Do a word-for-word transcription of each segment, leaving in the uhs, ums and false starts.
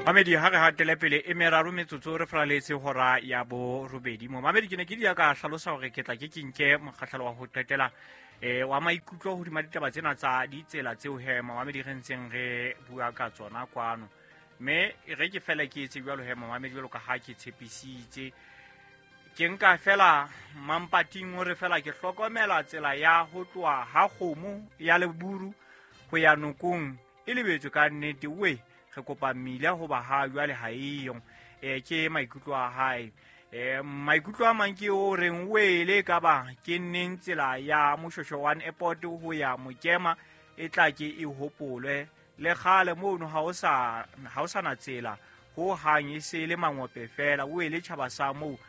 Mamedi ha re hatele pele e meraro metsotso re fraletse hora ya borobedi. Momamedi ke ne ke dia ka hlalosa hore ke tla ke ke nke mokgahlelo wa ho qetela eh wa maikutlo hodima ditaba tsena tsa ditsela tseo he momamedi re ntseng re bua ka tsona kwano. Mme re ke fela ke etse jwalo he momamedi jwalo ka ha ke tshepisitse. Ke nka fela mampating hore fela ke hlokomela tsela ya ho tloha ha kgomo ya Leburu ho ya nokong e lebetswe ka nnete we. Re kopa mmila hoba ha jwale ha eyo. Eh ke maikutlo a hae. Eh maikutlo a mang ke o reng wele ka ba ke neng tsela ya Moshosho one airport ho ya Mokema e tla ke e hopolwe le kgale mono ha o sa ha o sana tsela ho hang e se le mangope fela o ele tjhaba sa moo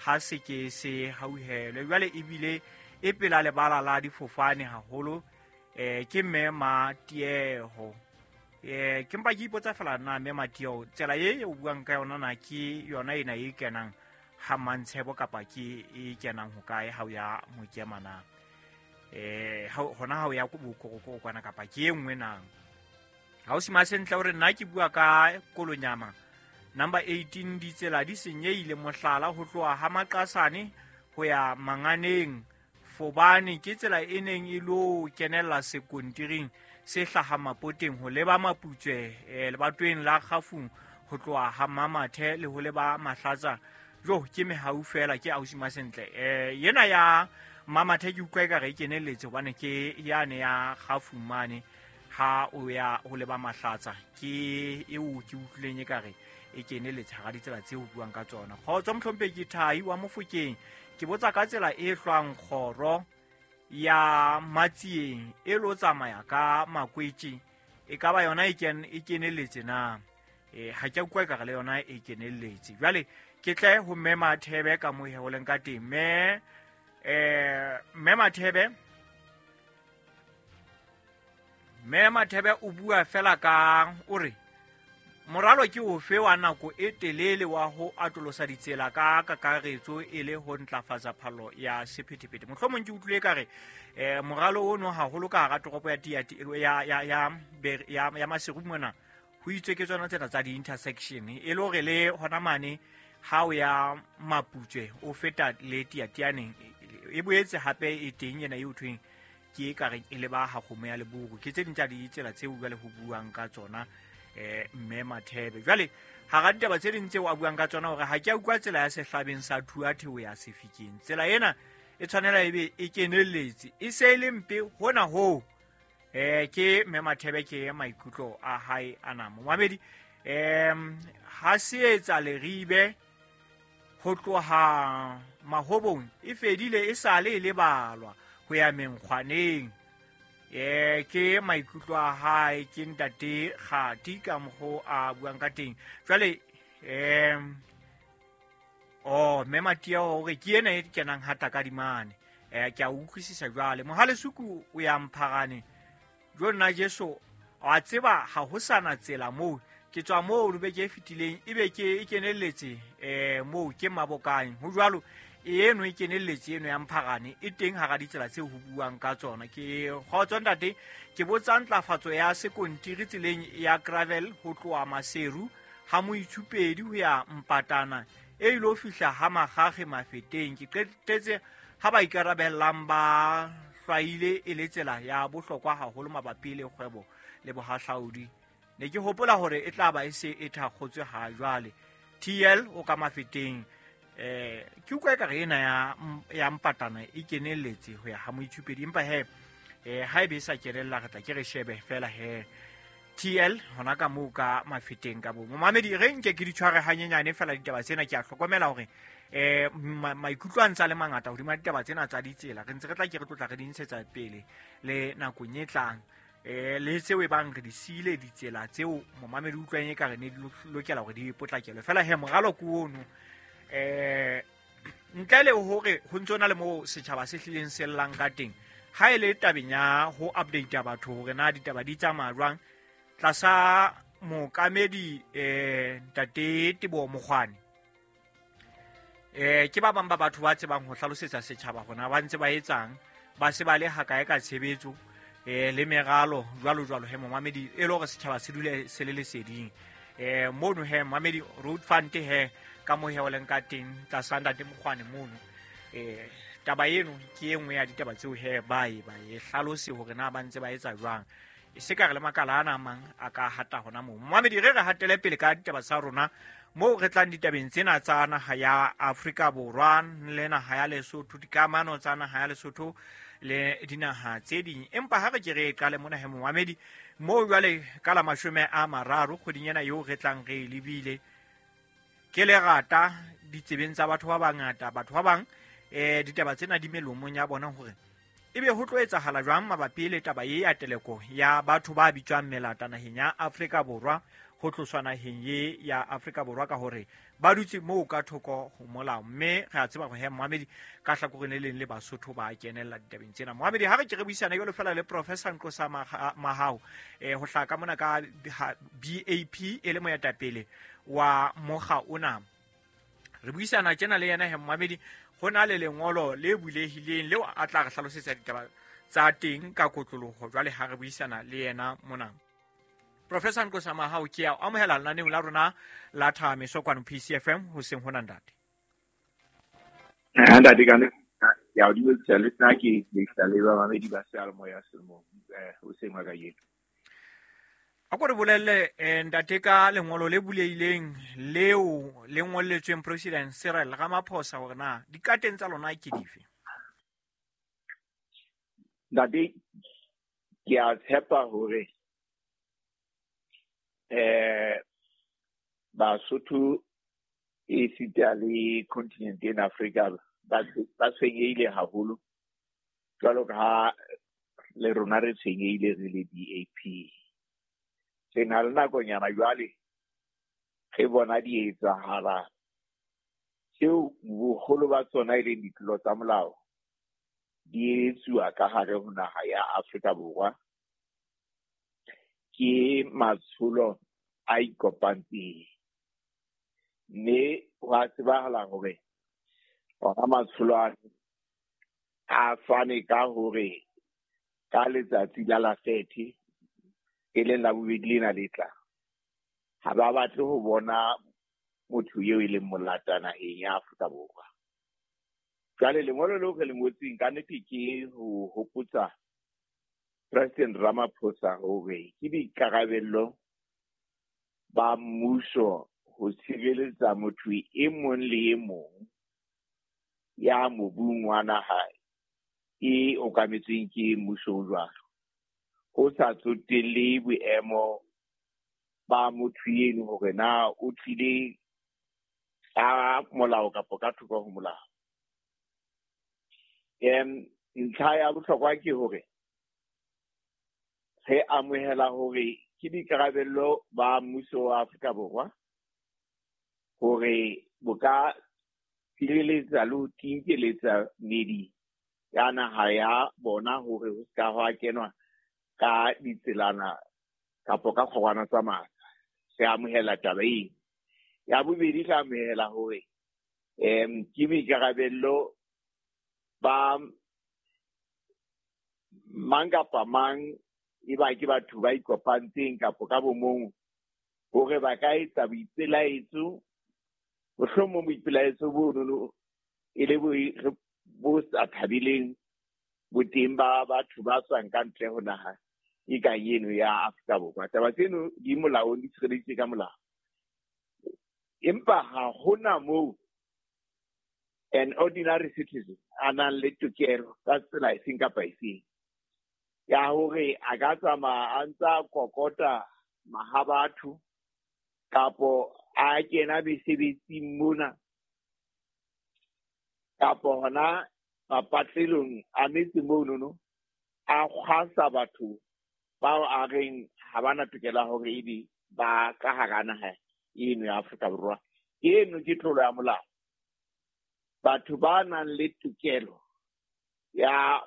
ha se ke se hauhelwe jwale ebile e pela lebala la difofane haholo eh ke mme Matieho. Eh ke mpa ke ipotsa fela na mme Matieho tsela e o buang ka yona na ke yona ena e kenang ha Mantshebo kapa ke e kenang ho kae ha o ya Mokema na eh hona ha o ya ko Bokorokoro kwana kapa ke e nngwe na. Ha o sima sentle hore nna ke bua ka Kolonyama number eighteen ditsela di senyehile mohlala ho tloha ha Maqasane ho ya Manganeng Fobane ke tsela e neng e lo kenella sekontiring se hlaha Mapoteng ho leba Maputswe eh lebatweng la Kgafung ho tloha ha Mamathe le ho leba Mahlatsa jo ke mehau fela ke ausi Masentle eh yena ya Mamathe ke utlwa ekare e kenelletse hobane ke yane ya Kgafung mane ha o ya ho leba Mahlatsa ke eo ke utlwileng ekare e kenelletse hara ditsela tseo buang ka tsona. Kgotso mohlomphehi ke Thai wa Mofokeng ke botsa ka tsela e hlwang kgoro ya Matsieng e lo tsamaya ka Makwetše e ka ba yona e ken e kenelletse na eh ha ke utlwa ekare le yona e kenelletse. Jwale ke tle ho mme Mathebe ka mo he ho leng ka teng mme eh mme Mathebe mme Mathebe o bua fela ka o re moralo ke ofe wa nako e telele wa ho atolosa ditsela ka kakaretso e le ho ntlafatsa phallo ya sephethephethe. Mohlomong ke utlwile ka re eh moralo ono haholo ka hara toropo ya ya ya ya ya ya Maseru mona ho itswe ke tsona tsena tsa di-intersection e le hore le hona mane ha o ya Maputswe o feta le Tiatianeng e boetse hape e teng ena e o thweng ke e ka re e leba ha kgomo ya Leburu. Ke tse ding tsa ditsela tseo jwale ho buang ka tsona eh mme Mathebe. Jwale hara ditaba tse ding tseo a buang ka tsona hore ha ke a utlwa tsela ya sehlabeng sa Thuathe ho ya Sefikeng tsela ena e tshwanela ebe e kenelletse e se e le mpe hona ho eh ke mme Mathebe ke maikutlo a hae ana. Momamedi em ha se etsa leribe ho tloha Mahobong e fedile e sale e lebalwa ho ya Menkgwaneng eh ke maikutlo a hae ke ntate Kgati ka mokgo a buang ka teng. Jwale em oh mme Matia hore ke ena e kenang hata ka dimane eh ke a utlwisisa jwale Mohale Suku o ya Mpharane jo nna Jesu a tseba ha ho sana tsela moo ke tswa moo beke e fetileng ebe ke e kenelletse eh moo ke Mabokang ho jwalo eno e kenelletse eno ya Mpharane e teng hara ditsela tseo ho buang ka tsona. Ke kgotso ntate ke botsa ntlafatso ya sekontiri tseleng ya gravel ho tloha Maseru ha Moitshupedi ho ya Mpatana e ilo fihla ha Magage Mafeteng. Ke qetetse ha ba ikarabellang ba hlwaile e le tsela ya bohlokwa haholo mabapi le kgwebo le bohahlaudi. Ne ke hopola hore e tla ba e se e thakgotswe ha jwale. T L o ka Mafeteng eh ke utlwa ekare ena ya ya Mpatana e kenelletse ho ya ha Moitshupedi empa he eh ha ebe sa kenella re tla ke re shebe fela he T L hona ka moo ka Mafeteng ka bo. Momamedi re nke ke di tshware hanyenyane fela ditaba tsena ke a hlokomela hore eh maikutlo a ntsa le mangata hodima ditaba tsena tsa ditsela re ntse re tla ke re tlotla re di ntshetsa pele le nakong e tlang eh le tseo e bang re di siile ditsela tseo momamedi utlwang e ka re ne di lokela hore di potlakelwe fela he moralo ke ono eh ntle le hore ho ntse hona le moo setjhaba se hlileng se llang ka teng ha e le tabeng ya ho update batho hore na ditaba di tsamaya jwang tlasa mookamedi eh ntate Teboho Mokgwane eh ke ba bang ba batho ba tsebang ho hlalosetsa setjhaba hona ba ntse ba etsang ba se ba le hakae ka tshebetso eh le meralo jwalo jwalo he momamedi e le hore setjhaba se dule se le leseding. Eh mono he mamedi road fund he ka mo he o leng ka teng tlasa ntate Mokgwane mono. Eh taba eno ke e nngwe ya ditaba tseo he ba e ba e hlalose hore na ba ntse ba etsa jwang. E se ka re le makala ana a mang a ka hata hona moo. Mamedi re re hatele pele ka ditaba tsa rona moo re tlang ditabeng tsena tsa naha ya Afrika Borwa le naha ya Lesotho, dikamano tsa naha ya Lesotho le dinaha tse ding. Empa ha re ke re qale mona he momamedi moo jwale ka la mashome a mararo kgweding ena eo re tlang re e lebile, ke lerata ditsebeng tsa batho ba bangata. Batho ba bang eh ditaba tsena di melomong ya bona hore ebe ho tlo etsahala jwang mabapi le taba e ya teleko ya batho ba bitswang melata naheng ya Afrika Borwa, ho tloswa naheng ye ya Afrika Borwa ka hore ba dutse moo ka thoko ho molao. Mme re a tseba hore he Mohamedi ka hlakoreng le leng le Basotho ba kenella ditabeng tsena. Mohamedi ha re ke re buisana jwalo fela le Professor Nqosa Mahao eh ho hlaka mona ka B A P e le moetapele wa mokga ona. Re buisana tjena le yena he Mohamedi, ho na le lengolo le bulehileng leo a tla re hlalosetsa ditaba tsa teng ka kotloloho jwale ha re buisana le yena mona. Professor Nqosa Mahao, ke a amohela lenaneong la rona la Thameso kwano P C F M hoseng hona ntate. Eh ntate ka ne ya o dumedisa le nna ke le le ba mamedi ba seyalemoya selemo eh hoseng wa kajeno. A ko re bolelle ntate ka lengolo le bulehileng leo le ngolletsweng President Cyril Ramaphosa hore na dikateng tsa lona ke dife. Ntate, ke a tshepa hore eh Basotho e sita le continent ena Afrika ba ba tshwenyehile haholo jwalo ka ha le rona re tshwenyehile re le B A P. Re na le nakonyana jwale re bona di etsahala tseo boholo ba tsona e leng ditlolo tsa molao di etsuwa ka hare ho naha ya Afrika Borwa ke matsholo a ikopantseng. Mme ho a tsebahala hore ona matsholo a a fane ka hore ka letsatsi la la thirty e leng la bobedi lena le tla, ha ba batle ho bona motho eo e leng molata naheng ya Afrika Borwa. Jwale lengolo leo re le ngotseng ka nnete ke ho hopotsa President Ramaphosa hore ke boikarabello ba mmuso ho tshireletsa motho e mong le e mong ya mobung wa naha e okametsweng ke mmuso o jwalo, ho sa tsotelle boemo ba motho eno hore na o tlile ka molao kapa ka thoko ho molao. Em ntlha ya bohlokwa ke hore re amohela hore ke boikarabello ba mmuso wa Afrika Borwa hore bo ka tshireletsa le ho tinkeletsa meedi ya naha ya bona hore ho ska hwa kenwa ka ditselana kapa ka kgorwana tsa matla. Re amohela taba eo. Ya bobedi, re amohela hore em ke boikarabello ba mang kapa mang e ba ke batho ba ikopantseng kapa ka bomong hore ba ka etsa boipelaetso, mohlomong boipelaetso bonono e le bo sa thabileng boteng ba batho ba tswang ka ntle ho naha e kang eno ya Afrika Borwa. Taba tseno di molaong, di tshireleditswe ka molao. Empa ha hona moo an ordinary citizen a nang le tokelo ka tsela efeng kapa efeng ya hore a ka tsamaya a ntsa kokota mahabatho kapo a kena mesebetsing mona kapo hona mapatlelong a metse monono a kgwasa batho bao a reng ha bana tokelo hore ebe ba ka hara naha eno ya Afrika Borwa. Eno ke tlolo ya molao. Batho ba nang le tokelo ya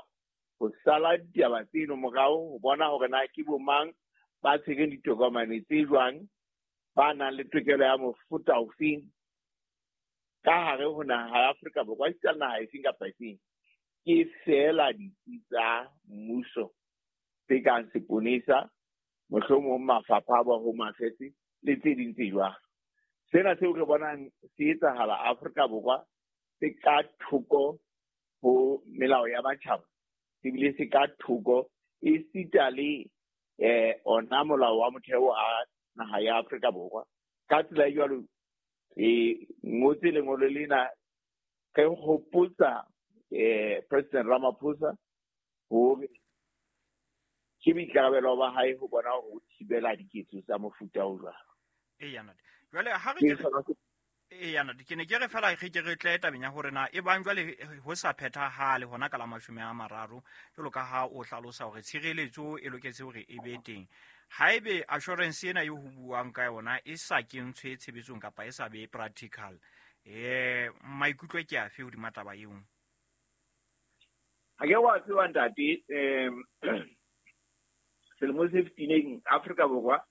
ho sala ditaba tseno morao ho bona hore na ke bo mang ba tshwereng ditokomane tse jwang, ba nang le tokelo ya mofuta ofeng ka hare ho naha ya Afrika Borwa, esita le naha efeng kapa efeng, ke feela ditsi tsa mmuso tse kang seponesa, mohlomong mafapha a ba Home Affairs le tse ding tse jwalo. Sena seo re bonang se etsahala Afrika Borwa se ka thoko ho melao ya matjhaba, ebile se ka thoko esita le eh ona molao wa motheo a naha ya Afrika Borwa. Ka tsela e jwalo e ngotse lengolo lena re hopotsa eh President Ramaphosa hore ke boikarabelo ba hae ho bona hore o thibela diketso tsa mofuta o jwalo. Eya ntate. Jwale ha re ke eya ntate, ke ne ke re fela re ke re tle tabeng ya hore na e bang jwale ho sa phethahale hona ka la mashome a mararo jwalo ka ha o hlalosa hore tshireletso e loketse hore e be teng. Haebe assurance ena eo ho buang ka yona e sa kentshwe tshebetsong kapa e sa be practical, eh maikutlo ke afe hodima taba eo? Ha ke wa tseba ntate, em selemo se fetileng Afrika Borwa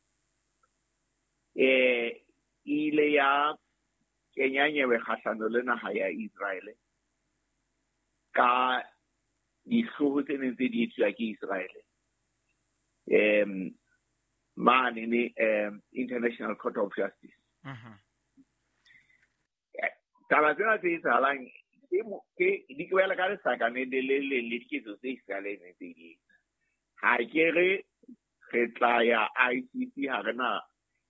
eh ile ya kenya nyewe kgahlano le naha ya Israel ka dihlooho tse neng tse di etswa ke Israel em mane ne um International Court of Justice. Mhm. Taba tsena tse etsahalang ke di kwela ka lesakane le le le le diketso tse Israel e neng tse di etsa. Ha ke re re tla ya I C C, ha re na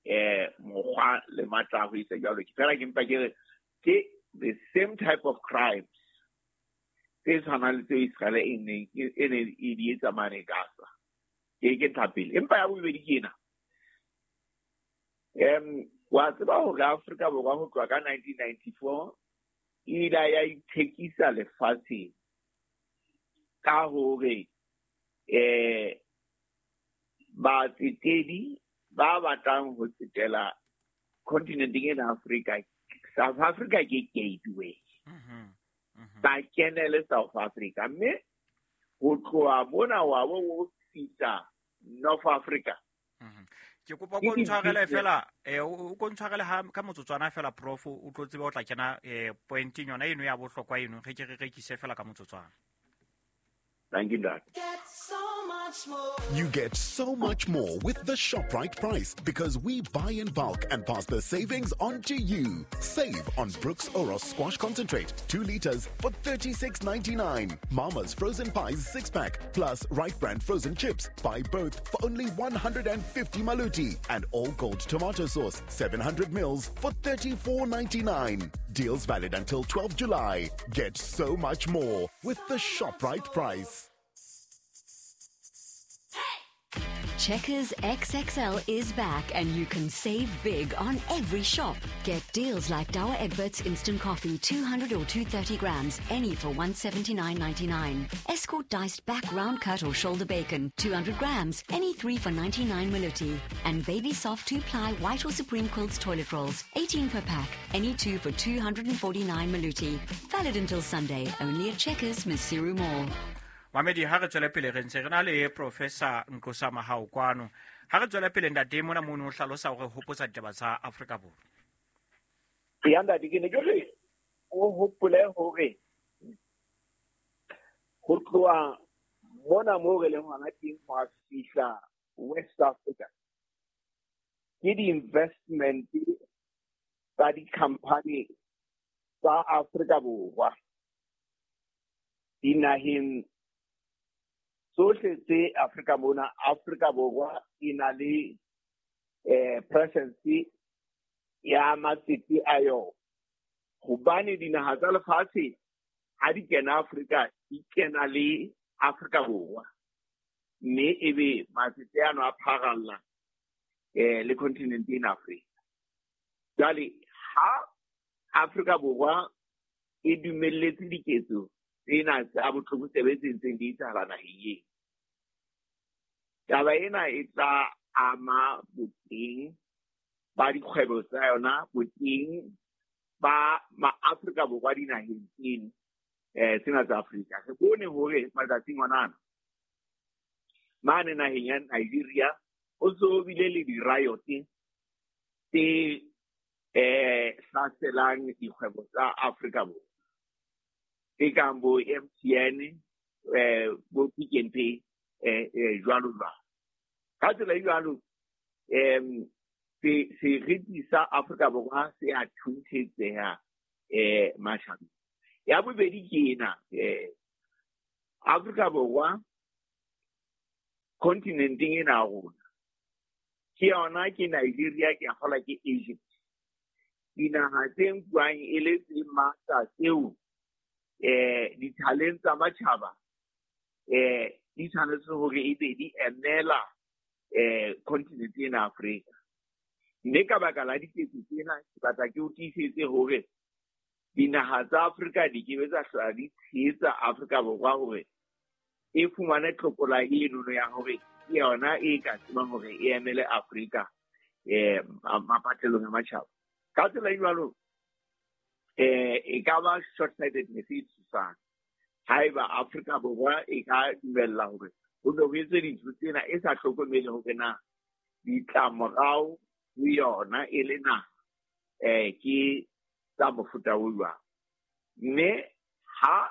eh mokgwa le matla a ho etsa jwalo. Ke fela ke mpa ke re ke the same type of crimes tse tshwanang le tseo Israel e neng e neng e di etsa mane Gaza. Ke ke ntlha pele. Empa ya bobedi ke ena. Em wa tseba hore Afrika Borwa ho tloha ka nineteen ninety-four e ile ya ithekisa lefatsheng ka hore eh batsetedi ba batlang ho tsetela continenteng ena Afrika, South Africa ke gateway. Mhm. Mhm. Ba kenele South Africa mme ho tloha mona wa bo ho fihla North Africa. Mhm. Ke kopa ko ntshwarele fela eh o ko ntshwarele ha ka motsotswana fela prof, o tlo tseba o tla kena eh pointing yona eno ya bohlokwa eno, re ke re rekise fela ka motsotswana. Thank you, Dad. Get so much more. You get so much more with the ShopRite price because we buy in bulk and pass the savings on to you. Save on Brooks Oros Squash Concentrate, two liters for thirty-six ninety-nine. Mama's Frozen Pies six pack plus Right Brand Frozen Chips. Buy both for only one hundred fifty maluti. And All Gold Tomato Sauce, seven hundred mils for thirty-four ninety-nine. Deals valid until twelfth July. Get so much more with the ShopRite price. Checkers X X L is back and you can save big on every shop. Get deals like Douwe Egberts Instant Coffee, two hundred or two thirty grams, any for one seventy-nine ninety-nine. Escort diced back round cut or shoulder bacon, two hundred grams, any three for ninety-nine maluti. And Baby Soft two-ply white or Supreme Quilts toilet rolls, eighteen per pack, any two for two hundred forty-nine maluti. Valid until Sunday, only at Checkers, Maseru Mall. Mamedi, ha re tswele pele re ntse re na le Professor Nqosa Mahao kwano. Ha re tswele pele ntate mona mono o hlalosa hore hopotsa ditaba tsa Afrika Borwa. Ya ntate, ke ne ke re o hopole hore ho tloha mona moo re leng hona teng ho a fihla West Africa ke di-investment tsa di-company tsa Afrika Borwa dinaheng tsohle tse Afrika mona. Afrika Borwa e na le eh presence ya matsete a yona, hobane dinaha tsa lefatshe ha di kena Afrika di kena le Afrika Borwa, mme ebe matsete ano a pharalla eh le continent ena Afrika. Jwale ha Afrika Borwa e dumelletse diketso tsena tsa botlokotsebe tse ntseng di etsahala naheng eo, taba ena e tla ama boteng ba dikgwebo tsa yona, boteng ba ma-Afrika Borwa dinaheng tseno eh tsena tsa Afrika. Re bone hore matsatsing ona ana mane naheng ya Nigeria ho so bile le di-riot tse eh hlaselang dikgwebo tsa Afrika Borwa e kang bo M T N, eh bo Pick n Pay, eh jwalo jwalo. Ka tsela e jwalo, em Se seriti sa Afrika Borwa se a thunthetseha eh matjhabeng. Ya bobedi ke ena, eh Afrika Borwa kontinenteng ena ya rona ke yona, ke Nigeria, ke a kgolwa ke Egypt. Dinaha tse nkuwang e le tse matla tseo eh dithaleng tsa matjhaba eh di tshwanetse hore ebe di emela eh kontinente ena Afrika. Mme ka baka la diketso tsena, ke batla ke o tiisetse hore dinaha tsa Afrika di ke be tsa hlola di tshehetsa Afrika Borwa hore e fumane tlokola enono ya hore ke yona e ka tsebang hore e emele Afrika eh mapatlelong a matjhaba. Ka tsela e jwalo, eh e ka ba short-sightedness e tshosang haeba Afrika Borwa e ka dumella hore ho be ho etswe dintho tsena e sa hlokomele hore na ditlamorao ho yona e le naha eh ke tsa mofuta o jwang. Mme ha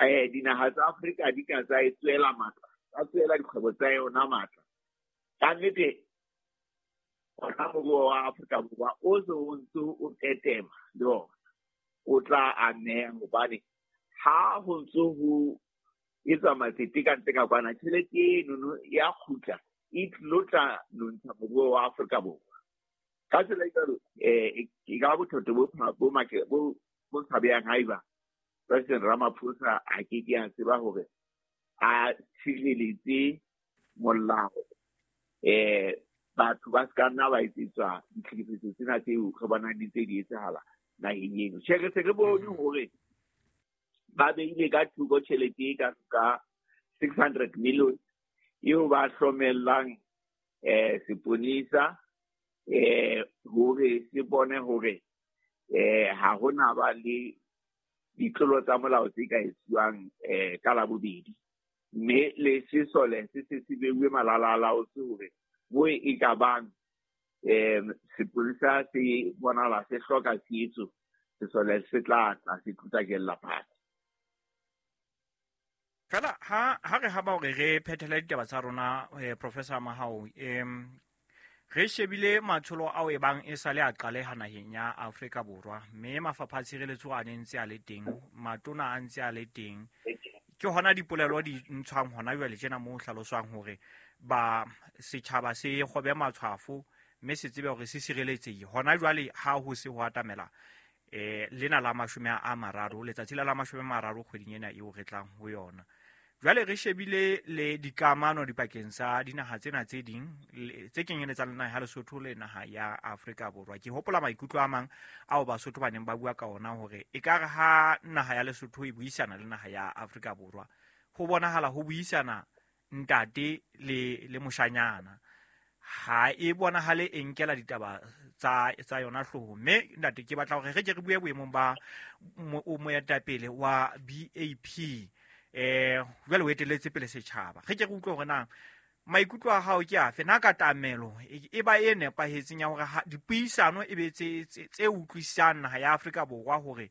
eh dinaha tsa Afrika di ka tsa e tswela matla, tsa tswela dikgwebo tsa yona matla, ka nnete ona moruo wa Afrika Borwa o se o ntse o tetema le ona o tla ameha, hobane ha ho ntse ho etswa matsete ka ntle ka kwana, tjhelete enono ya kgutla e tlilo tla nontsha moruo wa Afrika Borwa. Ka tsela e jwalo, eh e ka ba bothata bo bo bo bo tshabehang haeba President Ramaphosa a ke ke a tseba hore a tshireletse molao eh batho ba ska nna ba etsetswa ditlhekefetso tsena tseo re bonang di ntse di etsahala naheng eno. Tjhe, re se re bone hore ba beile ka thoko tjhelete e ka ka six hundred million eo ba hlomellang eh seponisa eh hore se bone hore eh ha hona ba le ditlolo tsa molao tse ka etsuwang eh ka Labobedi, mme le sesole se se se beuwe malala-a-laotswe hore mo e ka bang eh sepolesa se bonahala se hloka tshehetso, sesole se tla tla se tlutakella fatshe. Fela ha ha re haba hore re phethele ditaba tsa rona, eh, Professor Mahao, em re shebile matsholo ao e bang e sale a qaleha naheng ya Afrika Borwa, mme mafapha a tshireletso a ne ntse a le teng, matona a ntse a le teng. Ke hona dipolelo di ntshwang hona jwale tjena moo hlaloswang hore ba setjhaba se kgobe matshwafo mme se tsebe hore se sireletsehile. Hona jwale ha ho se ho atamela eh lena la mashome a mararo, letsatsi la la mashome a mararo kgweding ena eo re tlang ho yona. Jwale re shebile le dikamano dipakeng tsa dinaha tsena tse ding tse kenyeletsang le naha ya Lesotho le naha ya Afrika Borwa. Ke hopola maikutlo a mang ao Basotho ba neng ba bua ka ona hore ekare ha naha ya Lesotho e buisana le naha ya Afrika Borwa, ho bonahala ho buisana ntate le le moshanyana, ha e bonahale e nkela ditaba tsa tsa yona hloohong. Mme ntate, ke batla hore re ke re bue boemong ba moetapele wa B A P, eh jwale o etelletse pele setjhaba. Re ke re utlwe hore na maikutlo a hao ke afe, na katamelo e ba e nepahetseng ya hore dipuisano e be tse tse utlwisisang naha ya Afrika Borwa hore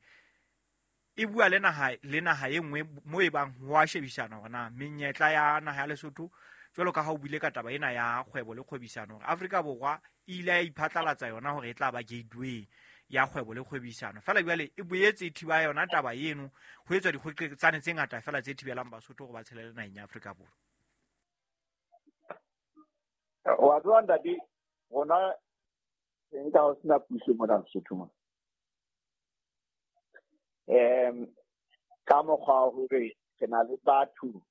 e bua le naha le naha e nngwe mo e bang ho a shebisana hore na menyetla ya naha ya Lesotho, jwalo ka ha o buile ka taba ena ya kgwebo le kgwebisano, hore Afrika Borwa e ile ya iphatlalatsa yona hore e tla ba gateway ya kgwebo le kgwebisano. Fela jwale e boetse e thiba yona taba eno, ho etswa dikgweqetsane tse ngata fela tse thibelang Basotho hore ba tshelele naheng ya Afrika Borwa. Wa tseba ntate, rona nka ho sena puso mona Lesotho mona. Em ka mokgwa wa hore re na le batho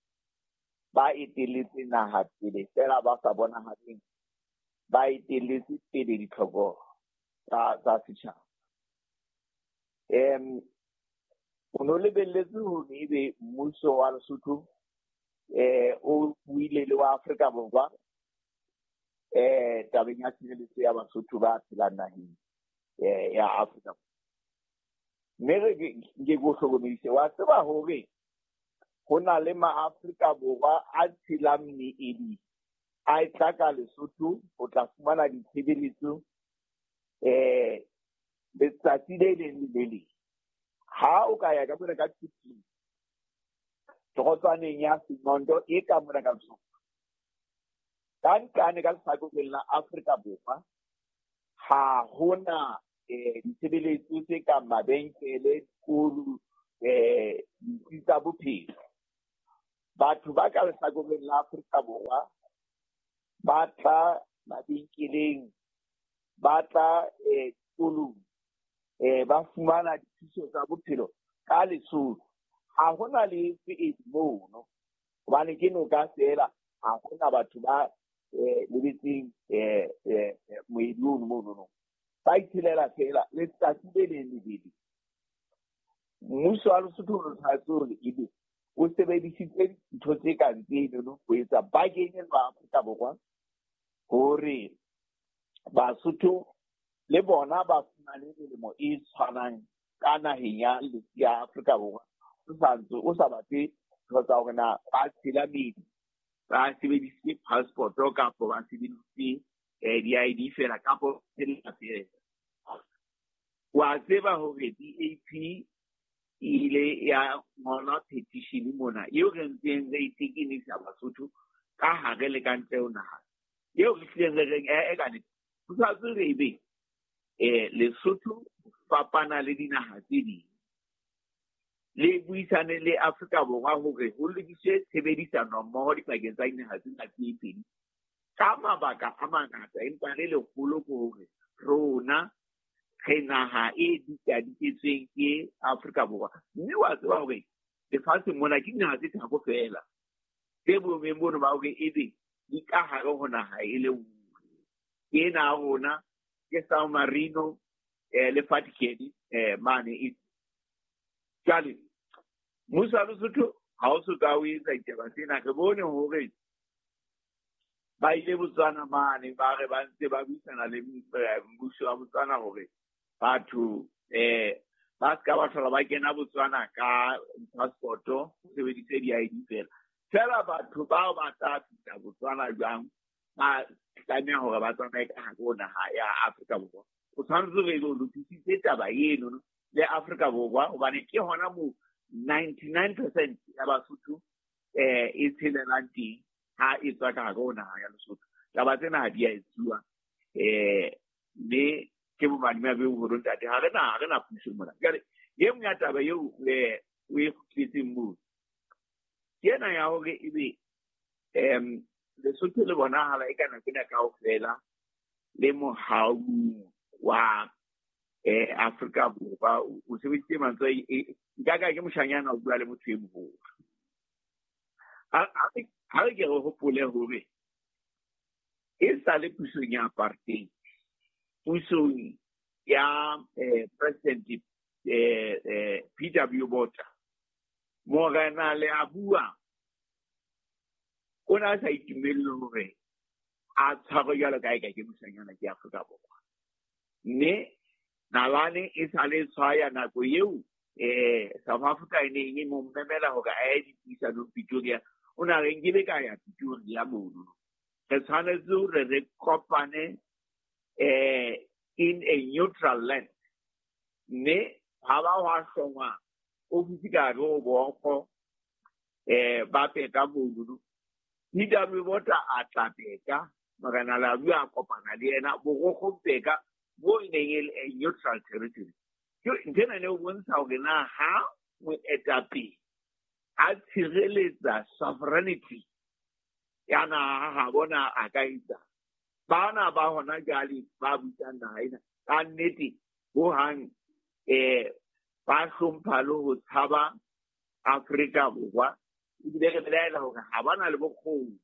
ba etelletse naha pele fela ba sa bonahaleng, ba etelletse pele ditlhoko tsa tsa setjhaba. Em o no lebelletse hore ebe mmuso wa Lesotho eh o buile le wa Afrika Borwa eh tabeng ya tshireletso ya Basotho ba phelang naheng eh ya Afrika. Mme re ke go hlokomedise, wa tseba hore ho na le maAfrika Borwa a tshelang meedi a e tla ka Lesotho ho tla fumana ditshebeletso eh letsatsi le leng le le leng. Ha o ka ya ka mona ka Tshitsi, torotswaneng ya Sinondo e ka mona ka Lesotho, ka nqane ka lehlakoreng la Afrika Borwa hona eh ditshebeletso tse kang mabenkele, dikolo, eh ditsi tsa bophelo. Batho ba ka lehlakoreng la Afrika Borwa ba tla mabenkeleng, ba tla eh dikolong, eh ba fumana dithuso tsa bophelo ka Lesotho. Ha hona le e mono hobane ke noka feela, ha hona batho ba eh lebetseng eh eh moedi ono mono no. Ba itshelela feela letsatsi le leng le le leng. Mmuso wa Lesotho o tshwanetse hore ebe o sebedisitse dintho tse kang tseno ho etsa bargaining ba Afrika Borwa hore Basotho le bona ba fumane melemo e tshwanang ka naheng ya ya Afrika Borwa. O sa ntse o sa batle ntho tsa hore na ba tshela meedi, ba sebedisitse passport kapa ba sebedisitse eh di-I D feela kapa tsela feela. Wa tseba hore D A P e ile ya ngola petition mona eo re ntseng re itekenisa Basotho ka hare le ka ntle ho naha, eo re hlileng re reng eh ka nnete ho sa tswe re ebe eh Lesotho fapana le dinaha tse ding, le buisane le Afrika Borwa hore ho lokiswe tshebedisano mmoho dipakeng tsa dinaha tsena tse pedi ka mabaka a mangata, empa le leholo ke hore rona re naha e dikadiketsweng ke Afrika Borwa. Mme wa tseba hore lefatsheng mona ke dinaha tse tharo feela tse boemong bono ba hore ebe di ka hare ho naha e le nngwe. Ke ena ya rona, ke San Marino eh le Vatican eh mane e. Jwale mmuso wa Lesotho ha o so ka o etsa ditaba tsena. Re bone hore ba ile Botswana mane, ba re ba ntse ba buisana le mmuso wa Botswana hore batho eh ba ska ba hlola ba kena Botswana ka passport, o sebedise di-I D fela. Fela batho bao ba tla fihla Botswana jwang, ba tlameha hore ba tsamaye ka hare ho naha ya Afrika Borwa. O tshwanetse hore o lokisitse taba eno le Afrika Borwa hobane ke hona moo ninety-nine percent ya Basotho eh e tshelelang teng ha e tswa ka hare ho naha ya Lesotho. Taba tsena ha di a etsuwa eh mme ke bomadimabe bo boholo ntate, ha re na ha re na puso mona. Jwale e nngwe ya taba eo eh o e kgutletseng moo ke ena ya hore ebe em Lesotho le bonahala e ka nako ena kaofela le mohau wa eh Afrika Borwa. O sebedisitse mantswe nka ka ke moshanyana o bua le motho e moholo. Ha re ke re hopole hore e sa le pusong ya apartheid, pusong ya eh, President eh, eh, P W Botha, Morena Leabua o ne a sa itumelle hore a tshwarwe jwalo ka eka ke moshanyana ke Afrika Borwa. Mme nalane e sa le tshwaya nako eo eh South Africa e neng e mo memela hore a ye dipuisanong Pretoria, o na re nkile ka ya Pretoria mono. Re tshwanetse hore re kopane eh in a neutral land. Mme ha ba hwa hlongwa ofisi ka hare ho Bokgo eh ba peka mono. P W Botha a tla peka, Morena Leabua a kopana le yena Borokgo peka bo e neng e le a neutral territory. Ke ntho ena e bontsha hore na ha moetapele a tshireletsa sovereignty ya naha ha bona a ka etsa. Bana ba hona jwale ba busang naha ena ka nnete hohang eh ba hlompha le ho tshaba Afrika Borwa. Ebile re belaela hore ha ba na le bokgoni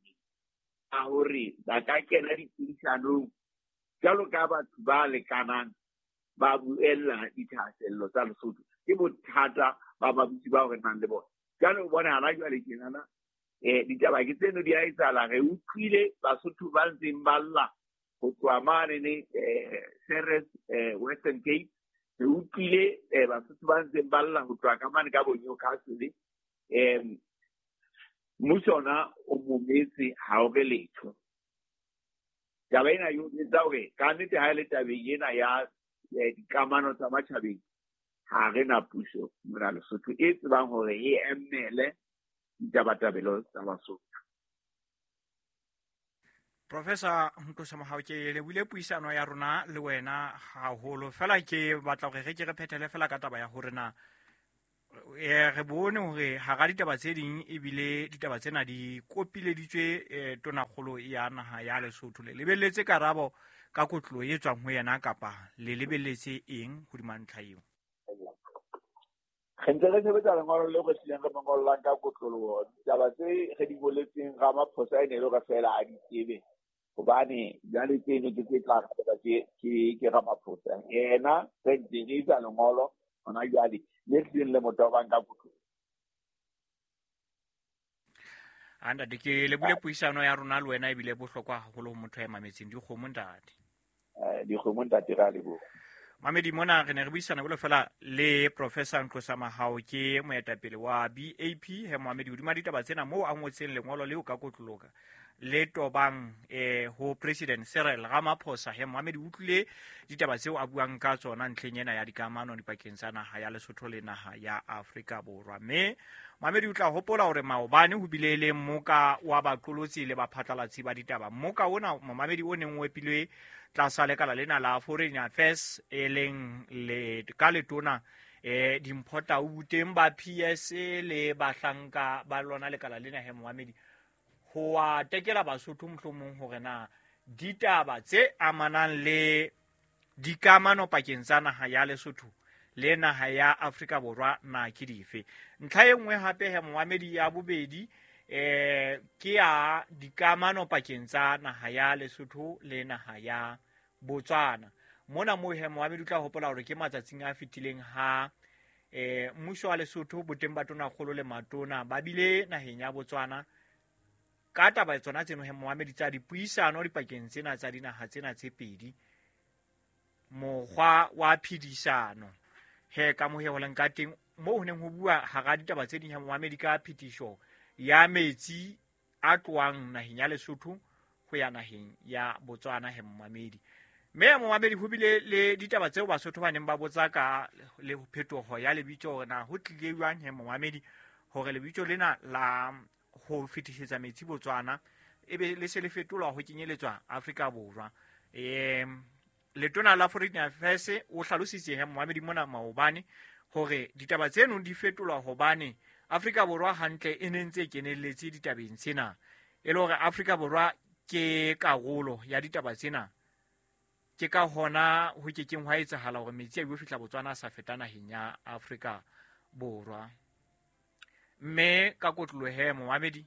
ba hore ba ka kena dipuisanong jwalo ka batho ba lekanang ba buella dithahasello tsa Lesotho. Ke bothata ba babusi bao re nang le bona. Jwale o bona hana jwale tjenana eh ditaba ke tseno di a etsahala. Re utlwile Basotho ba ntseng ba lla ho tloha mane ne eh Ceres eh Western Cape. Re utlwile eh Basotho ba ntseng ba lla ho tloha ka mane ka bo Newcastle. Em mmuso ona o mometse ha o re letho. Taba ena e etsa hore ka nnete ha e le tabeng ena ya dikamano tsa matjhabeng, ha re na puso mona Lesotho e tsebang hore e emele ditabatabelo tsa Basotho. Professor Nqosa Mohau, ke lebohile puisano ya rona le wena haholo. Fela ke batla hore re ke re phethele fela ka taba ya hore na eh re bone hore hara ditaba tse ding ebile ditaba tsena di kopileditswe eh, tonakgolo ya naha ya Lesotho. Le lebelletse karabo ka kotlo e tswang ho yena kapa le lebelletse eng hodima ntlha eo? Re ntse re sebetsa lengolo leo re hlileng re mo ngollang ka kotloloho. Ditaba tse re di boletseng Ramaphosa e ne e le hore feela a di tsebe, hobane jwale tseno ke tse tla arabelwa ke ke ke Ramaphosa. Yena re ntse re etsa lengolo hona jwale le hlileng le mo tobang ka kotloloho. A ntate, ke lebohile puisano ya rona le wena ebile bohlokwa haholo ho motho ya mametseng. Dikgomo ntate. Eh, dikgomo ntate, re a leboha. Mamedi, mona re ne re buisana jwalo fela le Professor Nqosa Mahao, ke moetapele wa B A P. He Mohamedi, hodima ditaba tsena moo a ngotseng lengolo leo ka kotloloka le tobang eh ho President Cyril Ramaphosa. He Mohamedi, utlwile ditaba tseo a buang ka tsona ntlheng ena ya dikamano dipakeng tsa naha ya Lesotho le naha ya Afrika Borwa. Mme Mohamedi, o tla hopola hore maobane ho bile le mmoka wa baqolotsi le baphatlalatsi ba ditaba. Mmoka ona Mohamedi o neng o epilwe tlasa lekala lena la Foreign Affairs e leng le ka letona eh Dimpho Tau, teng ba P S A le bahlanka ba lona lekala lena. He Mohamedi, ho a tekela Basotho mohlomong hore na ditaba tse amanang le dikamano pakeng tsa naha ya Lesotho le naha ya Afrika Borwa na ke dife. Ntlha e nngwe hape he Mohamedi ya bobedi eh ke ya dikamano pakeng tsa naha ya Lesotho le naha ya Botswana. Mona moo he Mohamedi o tla hopola hore ke matsatsing a fetileng ha eh mmuso wa Lesotho boteng ba tonakgolo le matona ba bile naheng ya Botswana ka taba tsona tseno he Mohamedi tsa dipuisano dipakeng tsena tsa dinaha tsena tse pedi, mokgwa wa phedisano he ka moheholeng ka teng moo ho neng ho bua hara ditaba tse ding he Mohamedi ka phetiso ya metsi a tlohang naheng ya Lesotho ho ya naheng ya Botswana he Mohamedi. Mme Mohamedi, ho bile le ditaba tseo Basotho ba neng ba botsa ka le phetoho ya lebitso hore na ho tlile jwang he Mohamedi hore lebitso lena la ho fetisetsa metsi Botswana ebe le se le fetolwa ho kenyeletswa Afrika Borwa. Eh letona la Foreign Affairs o hlalositse he Mohamedi mona maobane hore ditaba tseno di fetolwa hobane Afrika Borwa hantle e ne ntse e kenelletse ditabeng tsena, e le hore Afrika Borwa ke karolo ya ditaba tsena, ke ka hona ho kekeng hwa etsahala hore metsi a yo fihla Botswana a sa feta naheng ya Afrika Borwa. Mme ka kotloloho he Mohamedi,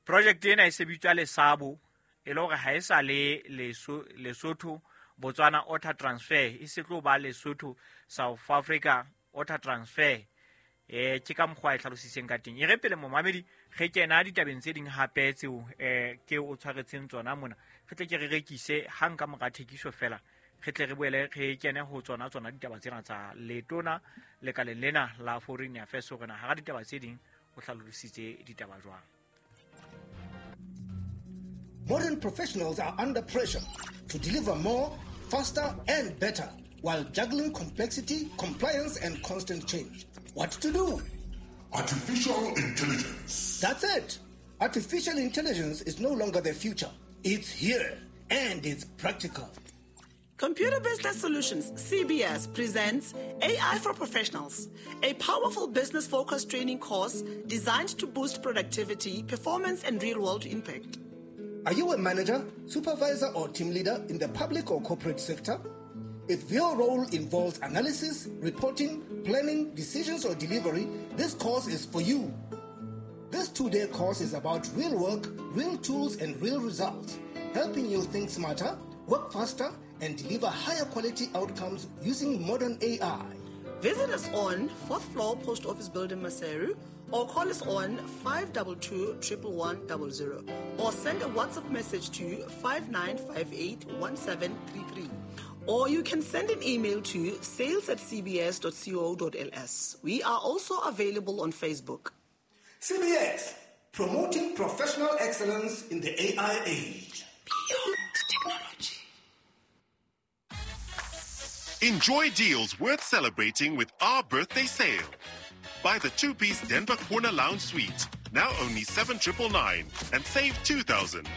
project ena e sebitswa Lesabo, e le hore ha e sa le Lesotho Botswana Water Transfer, e se tlo ba Lesotho South Africa Water Transfer. Eh ke ka mokgwa e hlalositseng ka teng. E re pele Mohamedi re kena ditabeng tse ding hape tseo eh ke o tshwaretseng tsona mona, re tle ke re rekise hang ka mora thekiso fela, re tle re boele re kene ho tsona tsona ditaba tsena tsa letona lekaleng lena la Foreign Affairs hore na hara ditaba tse ding o hlalositse ditaba jwang. Modern professionals are under pressure to deliver more, faster and better while juggling complexity, compliance and constant change. What to do? Artificial intelligence. That's it. Artificial intelligence is no longer the future. It's here and it's practical. Computer Business Solutions, C B S, presents A I for Professionals, a powerful business-focused training course designed to boost productivity, performance, and real-world impact. Are you a manager, supervisor, or team leader in the public or corporate sector? If your role involves analysis, reporting, planning, decisions, or delivery, this course is for you. This two-day course is about real work, real tools, and real results, helping you think smarter, work faster, and deliver higher quality outcomes using modern A I. Visit us on fourth floor Post Office Building, Maseru, or call us on five two two, one one one zero, or send a WhatsApp message to five nine five eight, one seven three three. Or you can send an email to sales at c b s dot co dot l s. We are also available on Facebook. C B S, promoting professional excellence in the A I age. Beyond technology. Enjoy deals worth celebrating with our birthday sale. Buy the two-piece Denver Corner Lounge Suite now only seven triple nine, and save two thousand.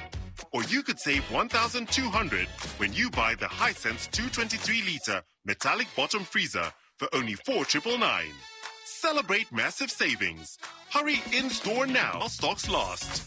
Or you could save one thousand two hundred when you buy the Hisense two twenty-three litre metallic bottom freezer for only four triple nine. Celebrate massive savings. Hurry in store now while stocks last.